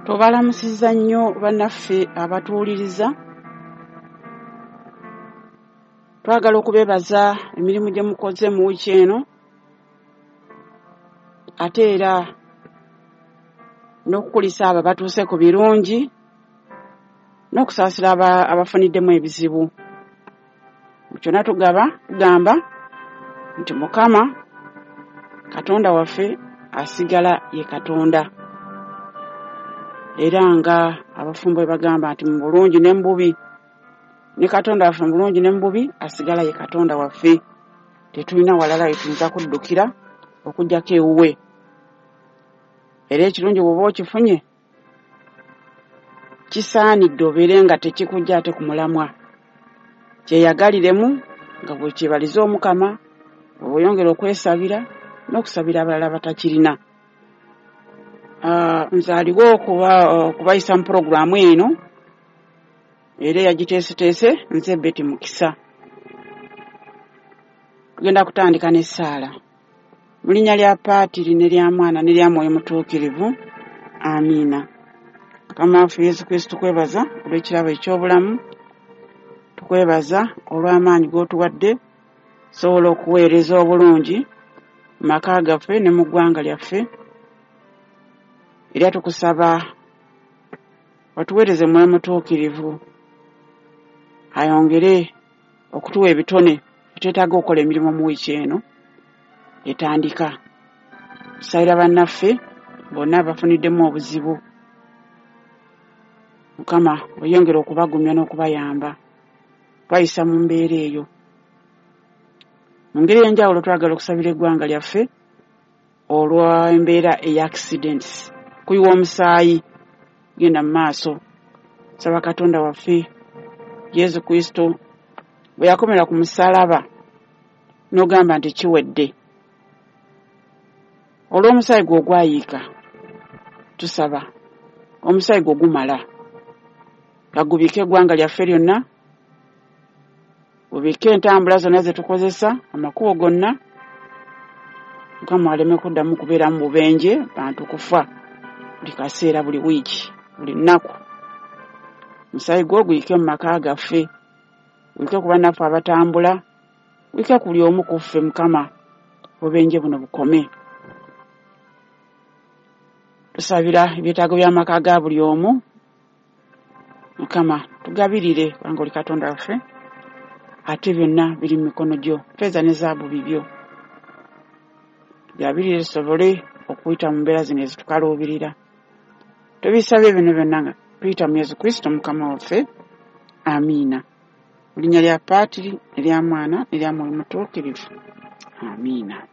Tubalamusizza nnyo bannaffe abatuwuliriza. Twagala okubeebaza emirimu gye mukoze mu wiiki eno, ate era n'okukulisa abo abatuuse ku birungi n'okusaasira abafuniddemu ebizibu. Mu kyonna tugamba nti Mukama Katonda waffe asigala ye Katonda. Era nga abafumbo bwe bagamba nti mu bulungi ne mu bubi, ne Katonda waffe mu bulungi ne mu bubi asigala ye Katonda waffe. Tetulina walala we tuyinza kuddukira okuggyako ewuwe. Era ekirungi bw'oba okifunye, kisaanidde obeere nga tekikujja ate ku mulamwa. Kyeyagaliremu nga bw'okyebaliza Omukama, bw'oyongera okwesabira n'okusabira abalala abatakirina. Nze aliwo okubayisa mu pulogulaamu eno, era eyagiteeseteese nze Betty Mukisa. Tugenda kutandika n'essaala. Mu linnya lya Paatiri ne lya Mwana ne lya Mwoyo Mutuukirivu, amiina. Mukama waffe Yesu Kristo, tukwebaza olw'ekirabo eky'obulamu, tukwebaza olw'amaanyi g'otuwadde sobola okuweereza obulungi mu maka gaffe ne mu ggwanga lyaffe. Era tukusaba otuweereze Mwoyo Mutuukirivu ayongere okutuwa ebitone etwetaaga okukola emirimu mu wiiki eno etandika. Tusabira bannaffe bonna abafuniddemu obuzibu, Mukama oyongere okubagumya n'okubayamba twayisa mu mbeera eyo. Mu ngeri ey'enjawulo twagala okusabira eggwanga lyaffe olw'embeera eya accidents, kuyiwa omusaayi genda mu maaso. Saba Katonda waffe Yesu Kristo bwe yakomera ku musaalaba n'ogamba nti kiwedde, olw'omusaayi gwe ogwayiika, tusaba omusaayi gwe gumala gagubike eggwanga lyaffe lyonna, gubike entambula zonna ze tukozesa, amakubo gonna, Mukama aleme kuddamu kubeeramu bubenje, bantu kufa buli kaseera, buli wiiki, buli nnaku. Omusaayi gwo guyike mu maka gaffe, guyike ku bannaffe abatambula, guyike ku buli omu ku ffe. Mukama, obubenje buno bukome. Tusabira ebyetaago by'amaka ga buli omu. Mukama tugabirire, kubanga oli Katonda waffe, ate byonna biri mu mikono gyo, ffeeza ne zaabu bibyo. Tugabirire tusobole okuyita mu mbeera zino ezitukaluubirira. Tubisabye bino byonna nga tuyita mu Yesu Kristo Mukama waffe, amiina. Mu linnya lya Paatiri ne lya Mwana ne lya Mwoyo Mutuukirivu, amiina.